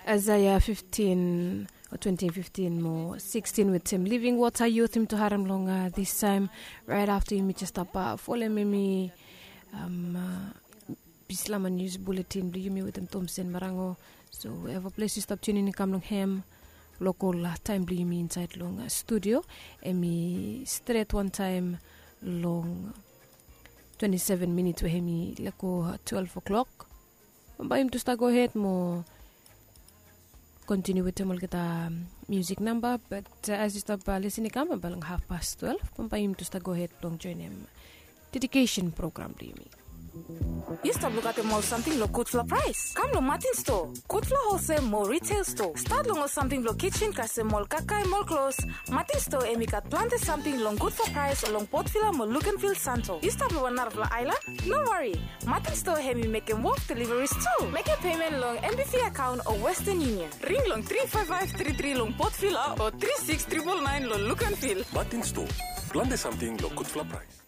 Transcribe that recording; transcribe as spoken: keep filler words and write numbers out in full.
Aesaia fiftin o twenti fiftin mo sikstin wetem Living Water Youth yumi tu harem long disaem. Raet afta yumi jes stap folem emi bislama nius buletin blong yumi wetem Tomsen Marango. So eva ples yu stap tunin i kam long hem, lokol taem blong yumi insaed long studio emi stret wantaem long twenti seven minits we hemi lego twelve o'clock. Bambae yumi tu stap gohed mo kontiniu wetem olgeta musik namba, bat as yu stap lisin i kam bambae long hafpas twelve bambae yumi tu stap gohed blong joenem dedikesen program blong yumi. Yu stap lukaotem ol samting long gudfala praes? Kam long Martin Store, gudfala holsel mo retail store. Stat long ol samting blong kitchen kasem ol kakae mo ol klos. Martin Store hemi gat plante samting long gudfala praes long Port Vila mo Luganville, Santo. Yu stap long wan narafala aelan? No wari. Martin Store hemi mekem wok deliveries tu. Mekem pemen long N B V akaon o Western Union. Ring long tri five five tri tri long Port Vila o tri six triple nine long Luganville. Martin Store, plante samting long gudfala praes.